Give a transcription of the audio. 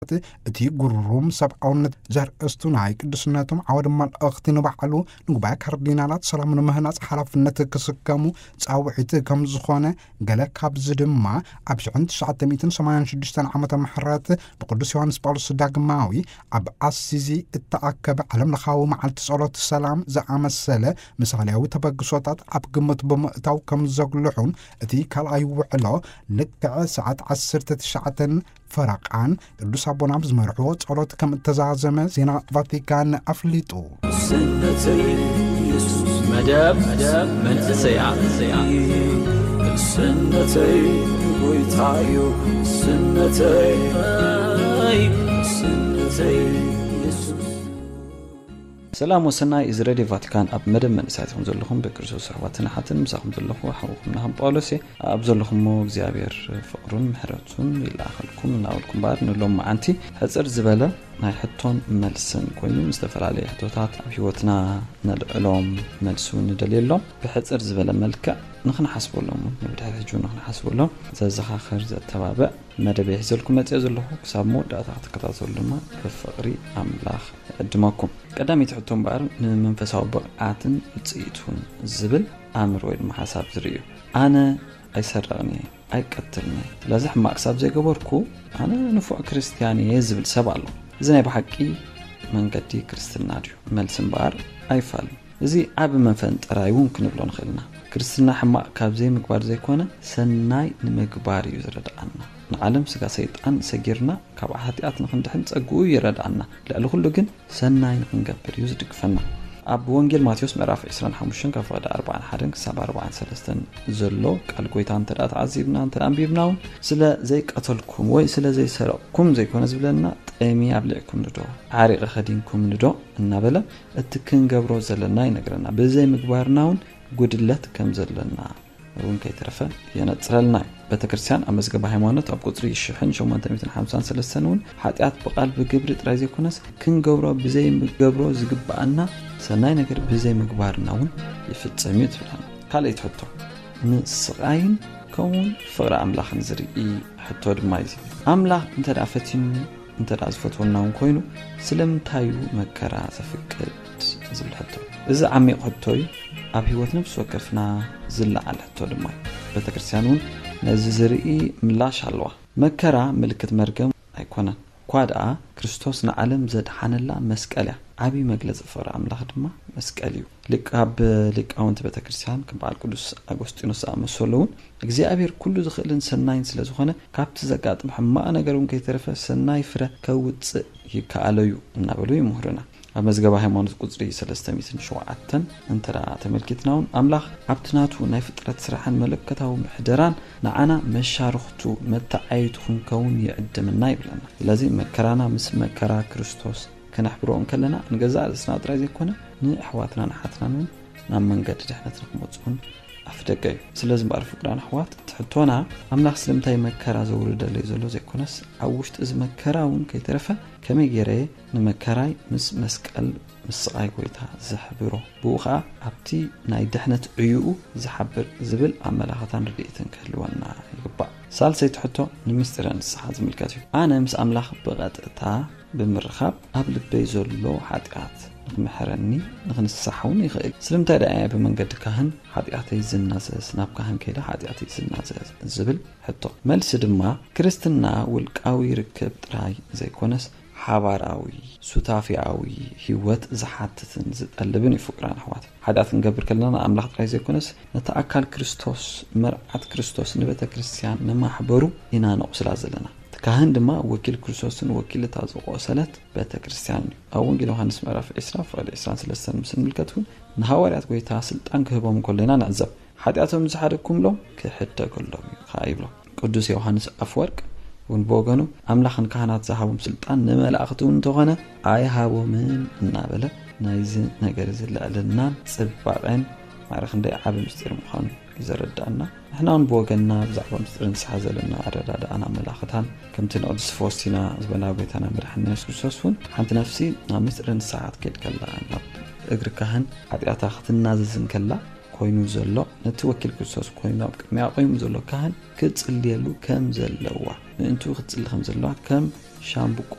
እቲ ግሩም ሰብኣውነት ዘርእስቱ ናይ ቅዱስነቶም ዓወደ መልእኽቲ ንባዕሉ ንጉባኤ ካርዲናላት ሰላም ንምህናጽ ሓላፍነት ክስከሙ ጻውዒት ከም ዝኾነ፣ ገለ ካብዚ ድማ ኣብ ሽሕን ትሽዓተ ሚእትን ሰማንያን ሽዱሽተን ዓመተ ምሕረት ብቅዱስ ዮሃንስ ጳውሎስ ዳግማዊ ኣብ ኣሲዚ እተኣከበ ዓለም ለኻዊ መዓልቲ ጸሎት ሰላም ዝኣመሰለ ምሳሌያዊ ተበግሶታት ኣብ ግምት ብምእታው ከም ዘጉልሑን፣ እቲ ካልኣይ ውዕሎ ልክዕ ሰዓት ዓሰርተ ትሽዓተን ፈረቓን ቅዱስ ኣቦና ብዝመርሕዎ ጸሎት ከም እተዛዘመ ዜና ቫቲካን ኣፍሊጡ። ስነተይ ኢየሱስ መደብ መንእሰያት ስነተይ ጎይታዩ ስነተይ ስነተይ ኢየሱስ ሰላም ወሰናይ። እዚ ሬድዮ ቫቲካን ኣብ መደብ መንእሰያት ኢኹም ዘለኹም። ብክርስቶስ ኣሕዋትን ኣሓትን ምሳኹም ዘለኹ ሓውኹም ናህም ጳውሎስ እየ። ኣብ ዘለኹሞ እግዚኣብሔር ፍቕሩን ምሕረቱን ይለኣኸልኩም እናበልኩም እምበኣር ንሎም መዓንቲ ሕፅር ዝበለ ናይ ሕቶን መልስን ኮይኑ፣ ዝተፈላለየ ሕቶታት ኣብ ህይወትና ነልዕሎም፣ መልሲ እውን ንደልየሎም። ብሕፅር ዝበለ መልክዕ ንኽንሓስበሎም እውን፣ ንብድሕሪ ሕጂ ንኽንሓስበሎም ዘዘኻኽር፣ ዘተባብዕ መደብ ሒዘልኩም መፅኦ ዘለኹ። ክሳብ መወዳእታ ክትከታተሉ ድማ ብፍቕሪ ኣምላኽ እዕድመኩም። ቀዳመይቲ ሕቶ እምበኣር፣ ንመንፈሳዊ ብቕዓትን ውፅኢቱን ዝብል ኣምር ወይ ድማ ሓሳብ ዝርኢ እዩ። ኣነ ኣይሰርቕን እየ፣ ኣይቀትልን እየ። ስለዚ ሕማቕ ክሳብ ዘይገበርኩ ኣነ ንፉዕ ክርስትያን እየ ዝብል ሰብ ኣሎ። እዚ ናይ ብሓቂ መንገዲ ክርስትና ድዩ? መልሲ እምበኣር ኣይፋልን። እዚ ዓቢ መፈንጠራይ እውን ክንብሎ ንኽእል ኢና። ክርስትና ሕማቕ ካብ ዘይምግባር ዘይኮነ ሰናይ ንምግባር እዩ ዝረድኣና። ንዓለም ስጋ ሰይጣን ሰጊርና ካብ ሓጢኣት ንኽንድሕን ጸግኡ ይረድኣና። ልዕሊ ኩሉ ግን ሰናይ ንኽንገብር እዩ ዝድግፈና። ኣብ ወንጌል ማቴዎስ ምዕራፍ ዕስራን ሓሙሽተን ካብ ፍቕዲ ኣርባዓን ሓደን ክሳብ ኣርባዓን ሰለስተን ዘሎ ቃል ጎይታ እንተ ደኣ ተዓዚብና እንተ ደኣ ኣንቢብና እውን ስለ ዘይቀተልኩም ወይ ስለ ዘይሰረቕኩም ዘይኮነ ዝብለና፣ ጠሚ ኣብሊዕኩም ንዶ ዓሪቒ ኸዲንኩም ንዶ እናበለ እቲ ክንገብሮ ዘለና ይነግረና። ብዘይ ምግባርና እውን ጉድለት ከም ዘለና እውን ከይተረፈ የነጽረልና እዩ። ቤተ ክርስቲያን ኣብ መዝገበ ሃይማኖት ኣብ ቁጽሪ ሽሕን ሸሞንተ ሚእትን ሓምሳን ሰለስተን እውን ሓጢኣት ብቓል ብግብሪ ጥራይ ዘይኮነስ ክንገብሮ ብዘይገብሮ ዝግብኣና ሰናይ ነገር ብዘይ ምግባርና እውን ይፍጸም እዩ ትብለና። ካልኣይቲ ሕቶ፣ ንስቓይን ከምኡውን ፍቕሪ ኣምላኽን ዝርኢ ሕቶ ድማ እዩ። ኣምላኽ እንተ ደኣ ፈቲኑኒ እንተ ደኣ ዝፈትወና እውን ኮይኑ ስለምንታይ እዩ መከራ ዘፍቅድ ዝብል ሕቶ። እዚ ዓሚቕ ሕቶ እዩ። ኣብ ህይወት ነፍሲ ወከፍና ዝለዓል ሕቶ ድማ እዩ። ቤተ ክርስቲያን እውን ነዚ ዝርኢ ምላሽ ኣለዋ። መከራ ምልክት መርገም ኣይኮነን። እኳ ደኣ ክርስቶስ ንዓለም ዘድሓነላ መስቀል እያ። ዓብዪ መግለጺ ፍቕሪ ኣምላኽ ድማ መስቀል እዩ። ሊቃብ ሊቃውንቲ ቤተ ክርስቲያን ከም በዓል ቅዱስ ኣጎስጢኖስ ዝኣመሰሉ እውን እግዚኣብሔር ኩሉ ዝኽእልን ሰናይን ስለ ዝኾነ ካብቲ ዘጋጥም ሕማቕ ነገር እውን ከይተረፈ ሰናይ ፍረ ከውፅእ ይከኣሎ እዩ እናበሉ ይምህሩና። ኣብ መዝገበ ሃይማኖት ቁፅሪ ሰለስተ ሚእትን ሸውዓተን እንተ ደኣ ተመልኪትና እውን ኣምላኽ ኣብቲ ናቱ ናይ ፍጥረት ስራሕን መለኮታዊ ምሕደራን ንዓና መሻርኽቱ መተዓይቱ ክንከውን ይዕድምና ይብለና። ስለዚ መከራና ምስ መከራ ክርስቶስ ከነሕብሮ እንከለና ንገዛእ ርእስና ጥራይ ዘይኮነ ንኣሕዋትናን ኣሓትናን እውን ናብ መንገዲ ድሕነት ንክመፅኡን ኣፍደገ እዩ። ስለዚ እምበኣር ፍቅራን ኣሕዋት እቲ ሕቶና ኣምላኽ ስለምንታይ መከራ ዘውርደለይ ዘሎ ዘይኮነስ ኣብ ውሽጢ እዚ መከራ እውን ከይተረፈ ከመይ ገይረ እየ ንመከራይ ምስ መስቀል ምስ ስቓይ ጎይታ ዘሕብሮ፣ ብኡ ኸዓ ኣብቲ ናይ ድሕነት ዕዩኡ ዝሓብር ዝብል ኣመላኽታን ርድኢትን ክህልወና ይግባእ። ሳልሰይቲ ሕቶ ንምስጢረ ንስሓ ዝምልከት እዩ። ኣነ ምስ ኣምላኽ ብቐጥታ ብምርኻብ ኣብ ልበይ ዘሎ ሓጢኣት ንኽምሕረኒ ንኽንስሓ እውን ይኽእል። ስለምንታይ ደኣ እየ ብመንገዲ ካህን ሓጢኣተይ ዝናዘዝ፣ ናብ ካህን ከይደ ሓጢኣተይ ዝናዘዝ ዝብል ሕቶ? መልሲ ድማ ክርስትና ውልቃዊ ርክብ ጥራይ ዘይኮነስ ሓባራዊ ሱታፊያዊ ህይወት ዝሓትትን ዝጠልብን እዩ። ፍቅራን ኣሕዋት ሓጢኣት ክንገብር ከለና ንኣምላኽ ጥራይ ዘይኮነስ ነቲ ኣካል ክርስቶስ መርዓት ክርስቶስ ንቤተ ክርስቲያን ንማሕበሩ ኢና ነቑስላ ዘለና። እቲ ካህን ድማ ወኪል ክርስቶስን ወኪል እታ ዝቆሰለት ቤተ ክርስቲያን እዩ። ኣብ ወንጌል ዮሃንስ ምዕራፍ ዕስራ ፍቕዲ ዕስራን ሰለስተን ምስ ንምልከት እውን ንሃዋርያት ጎይታ ስልጣን ክህቦም እንከሎ ኢና ንዕዘብ። ሓጢኣቶም ዝሓደግኩምሎም ክሕደገሎም እዩ ከዓ ይብሎም። ቅዱስ ዮሃንስ ኣፍወርቅ እውን ብወገኑ ኣምላኽ ንካህናት ዝሃቦም ስልጣን ንመላእኽቲ እውን እንተኾነ ኣይሃቦምን እናበለ ናይዚ ነገር እዚ ልዕልናን ጽባቐን ማዕረ ክንደይ ዓቢ ምስጢር ምዃኑ እዩ ዘረዳእና። ንሕና እውን ብወገንና ብዛዕባ ምስጢር ንስሓ ዘለና ኣረዳድኣና መላኽታን ከምቲ ንቅድስቲ ፎስቲና ዝበላ ጎይታና መድሓንና የሱስ ክርስቶስ እውን ሓንቲ ነፍሲ ናብ ምስጢር ንስሓ ክትከይድ ከላ ናብ እግሪ ካህን ሓጢኣታ ክትናዘዝ እንከላ ኮይኑ ዘሎ ነቲ ወኪል ክርስቶስ ኮይኑ ኣብ ቅድሚያ ቆይሙ ዘሎ ካህን ክትጽልየሉ ከም ዘለዋ ምእንቱ ክትጽሊ ከም ዘለዋ ከም ሻምብቆ